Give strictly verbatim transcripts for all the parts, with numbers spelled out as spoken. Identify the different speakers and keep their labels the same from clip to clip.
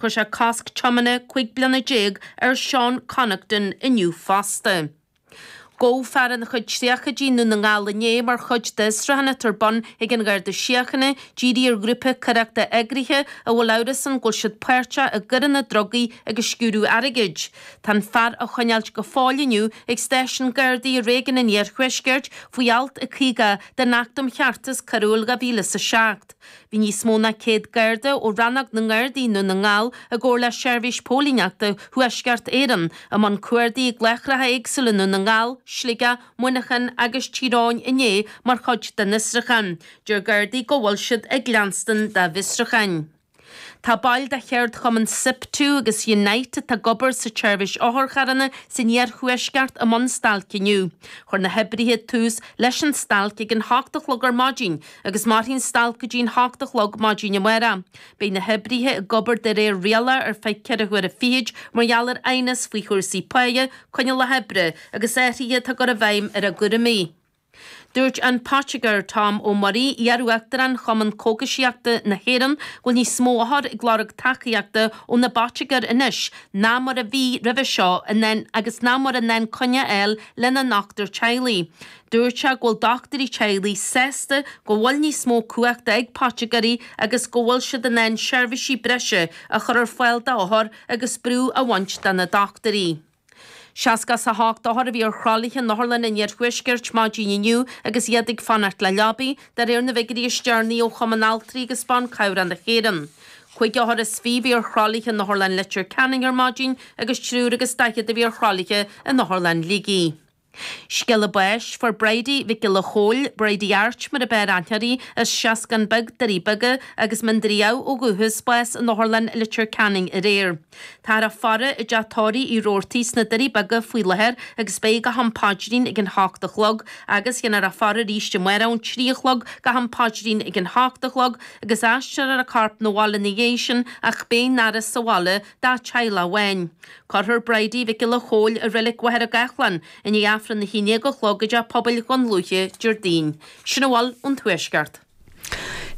Speaker 1: Chuir sé cosc tiomána cúig bliana déag ar Seán Connaughton inniu fosta. Gabhadh fear ina chuid tríochaidí i nDún na nGall inné mar chuid d'fhiosrúchán atá ar bun ag an Gharda Síochána dírithe ar ghrúpa coireachta eagraithe a bhfuil amhras ann go bhfuil siad páirteach i gcoireanna drugaí agus sciúradh airgid. Tá an fear á choinneáilt go fóill inniu ag stáisiún Gardaí i réigiún an Iarthuaiscirt faoi alt a caoga den Acht um Cheartas Coiriúil dhá mhíle is a seacht. Bhí níos mó ná céad Garda ó Rannóg na nGardaí i nDún na nGall i gcomhar le Seirbhís Póilíneachta Thuaisceart Éireann i mbun cuardaigh i gláithreacha éagsúla i nDún na nGall, Sligeach, Muineachán agus Tír Eoghain inné mar chuid den fhiosrúchán. Deir Gardaí go bhfuil siad ag leanstan dá bhfiosrúcháin. Tá baill de cheardchumann SIPTU agus Unite atá ag obair sa tseirbhís otharcharranna san iarthuaisceart i mbun stailc inniu. Chuir na hoibrithe tús leis an stailc ag an hocht a chlog ar maidin agus mairfidh an stailc go dtí an hocht a chlog maidin amárach. Beidh na hoibrithe ag obair de réir riala ar feadh ceithre huaire fichid mar gheall ar aighneas faoi chúrsaí páighe, coinníollacha oibre agus athruithe atá á gcur i bhfeidhm ar a gcúraimí. Dúirt an Poitigéir Tom Ó Muirí, iar-uachtarán Chumann Cógaisíochta na hÉireann, go bhfuil níos mó othar ag lorg tacaíochta ó na bpoitigéir anois ná mar a bhí roimhe seo in ann agus ná mar in ann coinne a fháil lena ndochtúir teaghlaigh. Dúirt sé go bhfuil dochtúirí teaghlaigh sásta go bhfuil níos mó cumhachta ag poitigéirí agus go bhfuil siad in ann seirbhísí breise a chur ar fáil d'othair agus brú a bhaint de na dochtúirí. Seasca is a hocht othar a bhí ar thralaithe in Otharlann an Iarthuaiscirt maidin inniu agus iad ag fanacht le leabaí, de réir na bhfigiúirí is deireanaí ó Chumann Altraí agus Ban Cabhrach na hÉireann. Cúig othar is fiche a bhí ar thralaithe in Otharlann Leitir Ceanainn ar maidin agus triúr agus daichead a bhí ar thralaithe in Otharlann Shligigh. Scéala báis, Fuair Bridie Mhic Giolla Chóill, Bridie Airt mar ab fhearr aithne uirthi, as Seascann Beag, Doirí Beaga agus Mín Doire Dhamh ó dhúchas, bás in Otharlann Leitir Ceanainn aréir. Táthar á faire i dteach tórraimh Uí Robhartaigh sna Doirí Beaga faoi láthair agus beidh go ham paidrín ag an hocht a chlog agus dhéanfar a faire arís amárach ón trí a chlog go ham paidrín ag an hocht a chlog agus aistreofar a corp 'na bhaile ina dhiaidh sin ach beidh an fhaire sa bhaile dá teaghlach amháin. Cuirfear Bridie Mhic Giolla Chóill i Reilig Mhachaire Gathlán i ndiaidh Aifreann a haon déag a chlog i dTeach Pobail Dhún Lúiche Déardaoin. Sin a bhfuil ón Tuaisceart.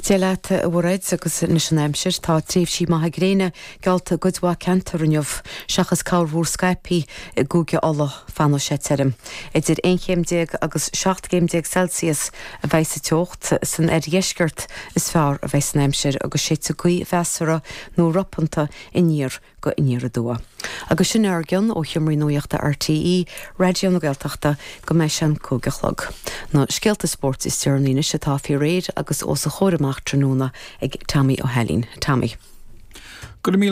Speaker 2: Dia leat, a Mhairéad, agus anois an aimsir. Tá tréimhsí maithe gréine geallta i gcuid mhaith ceantar inniu, seachas corrmhúr scaipthe i gCúige Uladh. Fanfaidh sé tirim. Idir aon chéim déag agus seacht gcéim déag Celsius a bheidh sa teocht. San oirdheisceart is fearr a bheidh an aimsir agus séidfidh gaoth mheasartha nó ropanta aniar go aniar aduaidh. Agus sin ár gcion ó Sheomraí Nuachta RTÉ, Raidió na Gaeltachta, go mbeidh sé an cúig a chlog. Na scéalta spóirt is deireanaí anois atá faoi réir agus os a chomhair amach tráthnóna ag Tommy Ó hAilín. Tommy.
Speaker 3: Go míle